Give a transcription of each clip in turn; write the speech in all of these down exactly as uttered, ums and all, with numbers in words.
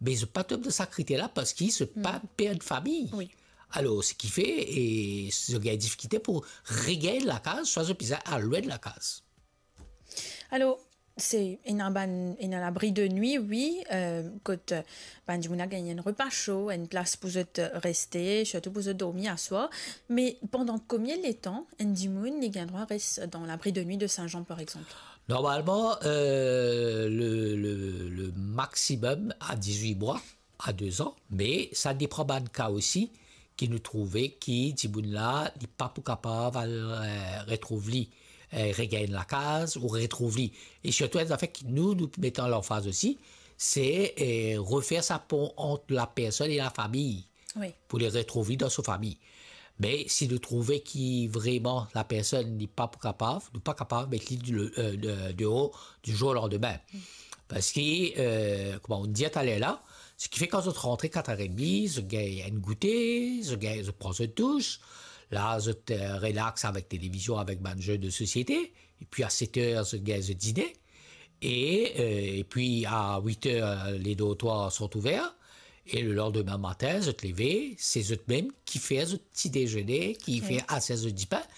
Me zot pa tom dan sa kriter la parski zot pa per de fami. Wi. Alor, seki fer, e zot gagn difikilte pou regagn lakaz, swa zot bizin al lwin de lakaz. Alor, se, ena bann, ena labri de nwi, wi, eh, kot, eh, bann dimoun la gagn enn repa so, enn plas pou zot, eh, reste, sirtou pou zot dormi aswar. Me pandan komie letan enn dimoun li gagn drwa res dan labri de nwi de Saint-Jean, par exanp? Normalman, eh, le, le, le maximum a diz-wit mwa, a de zan, me sa depan bann ka osi ki nou trouve ki dimoun la, li pa pou kapav al, eh, retrouv li, eh, regagn lakaz ou retrouv li. E sirtou enn zafer ki nou, nou met an lanfaz osi, se, eh, refer sa pon ant lapersonn e lafami. Wi. Pou li retrouv li dan so fami. Me si nou trouve ki vreman lapersonn li pa pou kapav, nou pa kapav met li de, eh, de, deor du jour au lendemain. Parski, eh, kouma nou dir taler la, seki fer kan zot rantre kat er edmi, zot gagn enn goute, zot gagn, zot pran zot dous, la zot, eh, relax avek televizion, avek bann ze de sosiete, epi a set er zot gagn zot dine, e, eh, epi a wit er, eh, les dortoirs sont ouverts, e le landime matin, zot leve, se zot mem ki fer zot ti dezene, ki fer, wi, aser zot dipin,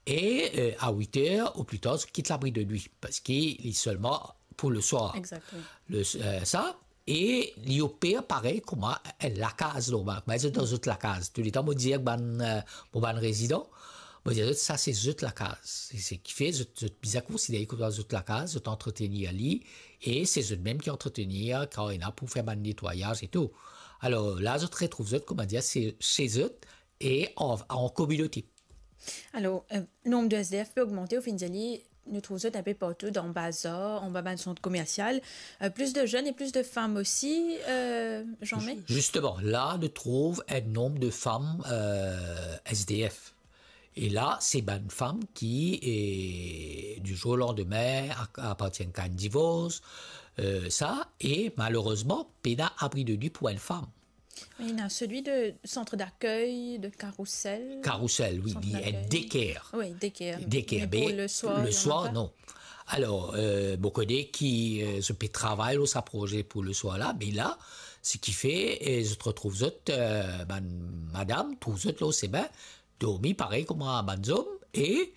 e, eh, a wit er ou pli tar, zot kit labri de nwi, parski li selman pou le swar. Exactement. Le, eh, sa, e li oper parey kouma enn lakaz normal. Kouma zot dan zot lakaz. Touletan mo dir bann, eh, mo bann rezidan, mo dir zot, sa se zot lakaz. Se, seki fer zot, zot bizin konsidere kouma zot lakaz, zot antretenir li, e se zot mem ki antretenir, kan ena pou fer bann netwayaz e tou. Alor, la zot retrouv zot, kouma dir, se, se zot, e an, an kominote. Alor, eh, nonb de S D F pe ogmante, ou finn dir li, nou trouv zot enpe partou, dan bazar, anba bann sant komersial. Eh, plis de zenn e plis de fam osi, eh, Jean-May? Zisteman, la, nou trouv enn nonb de fam, eh, S D F. E la, se bann fam ki, eh, du jour au lendemain, a-, apartienn a enn divors, eh, sa, e malerezman, pena abri de nwi pou enn fam. Wi, ena selwi de centre d'accueil, de Carrousel. Carrousel, wi, centre d'accueil. Daycare. Wi, daycare. Daycare, me pou me le swar, le swar, non. Alor, eh, mo kone ki, eh, zot pe travay lor sa proze pou le swar la, me la, seki fer, eh, zot retrouv zot, eh, bann madam, trouv zot lor sime, dormi parey kouma bann zom, e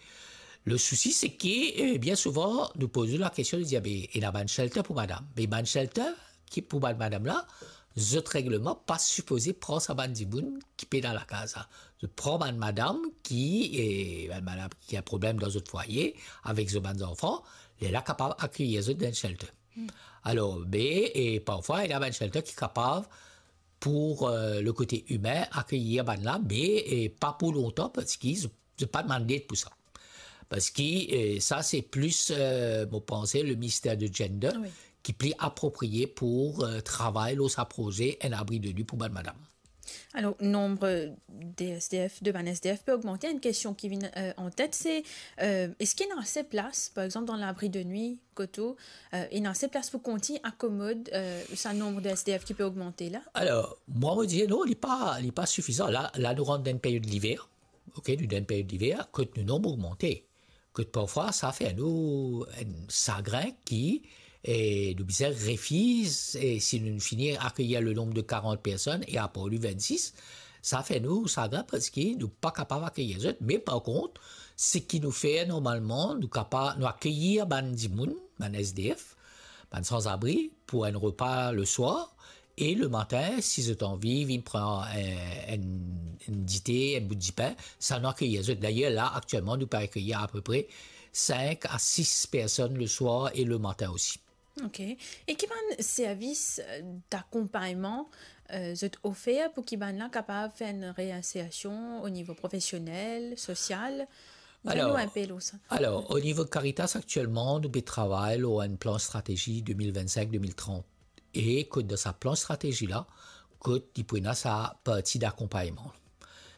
le sousi, se ki, eh, bien souvan, nou poz nou lakestion, nou dir, "Be, ena bann shelter pou madam." Me bann shelter ki pou bann madam la, zot regleman pa sipoze pran sa bann dimoun ki pena lakaz la. Zot pran bann madam ki, eh, bann madam ki ena problem dan zot fwaye, avek zot bann zanfan, lerla kapav akeyir zot dan enn shelter. Alor, be, e parfwa, ena bann shelter ki kapav, pou, eh, le kote imin, akeyir bann la, me, eh, pa pou lontan, parski zot, zot pa demann led pou sa. Parski, eh, sa, se plis, eh, mo panse, le minister de Gender, wi, ki pli apropriye pou, eh, travay lor sa proze, enn abri de nwi pou bann madam. Alor, nonb de S D F, de bann S D F pe ogmante. Enn kestion ki vinn, eh, an tet, se, eh, eski ena ase plas, par exanp, dan labri de nwi kot ou, eh, ena ase plas pou kontign akomod, eh, sa nonb de S D F ki pe ogmante la? Alor, mwa, mo dir non, li pa, li pa sifizan. La, la, nou rant dan enn period liver, ok, nou dan enn period liver, kot nou nonb ogmante. Kot parfwa, sa fer nou enn sagrin ki, eh, nou bizin refiz, eh, si nou fini akeyir le nonb de karant personn e apre li vennsis, sa fer nou sagrin parski nou pa kapav akeyir zot. Me par kont, seki nou fer normalman, nou kapa-, nou akeyir bann dimoun, bann S D F, bann sanzabri, pou enn repa le swar, e le matin, si zot anvi, vinn pran, eh, enn, enn dite, enn bout dipin, sa nou akeyir zot. Dayer, la, aktielman, nou pe akeyir apepre sink a sis personn le swar e le matin osi. Ok. E ki bann servis, eh, dakonpagnman, eh, zot ofer pou ki bann la kapav fer enn reinsersion o nivo profesionel, sosial? Dir nou inpe lor sa. Alor, o nivo Caritas, aktielman, nou pe travay lor enn plan stratezi de mil vennsink de mil trant. E kot dan sa plan stratezi la, kot li pou ena sa parti dakonpagnman.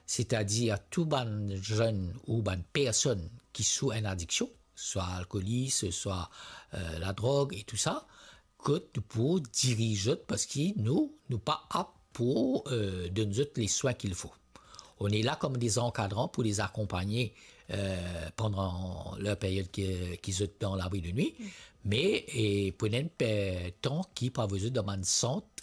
Setadir tou bann zenn ou bann personn ki sou enn adiksion, swa alkolis, swa, eh, ladrog e tou sa, kot nou pou diriz zot, parski nou, nou pa ap pou, eh, donn zot les soins qu'il faut. On est là comme des encadrants pour les accompagner, eh, pandan ler period ki, ki zot dan labri de nwi. Me, eh, pou enn pe-, tan ki pou avoy zot dan bann sant